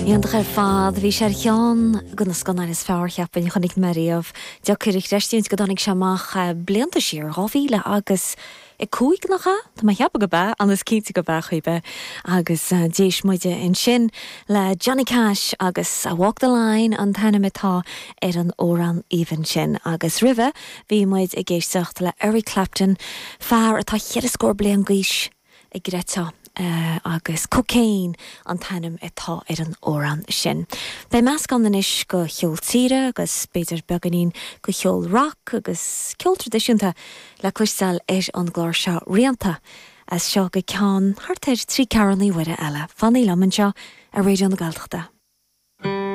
Iontach ar fad. Bhí sé ar cheann de na scannáin is fearr, cheapfainn, a chonaic mé riamh. Deacair a chreistiúint go dtáinig sé amach blianta siar, 2000 agus 5, nach ea? Tá mé ag ceapadh gurb ea, an is cinnte gurb ea, chor ar bith. Agus d'éist muide ansin le Johnny Cash agus Walk the Line an t-ainm atá ar an amhrán aoibhinn sin. Agus roimhe bhí muid ag éisteacht le Eric Clapton, fear atá cheithre scór bliain d'aois, a gcreidfeá, agus Cocaine an t-ainm atá ar an amhrán sin. Beidh meascán anois de cheol tíre agus b'fhéidir beagáinín de cheol rock agus ceol traidisiúnta le cloisteáil ar an gclár seo rianta as seo go ceann thart ar thrí ceathrúna uaire eile. Fanaigí liom anseo ar Raidió na Gaeltachta.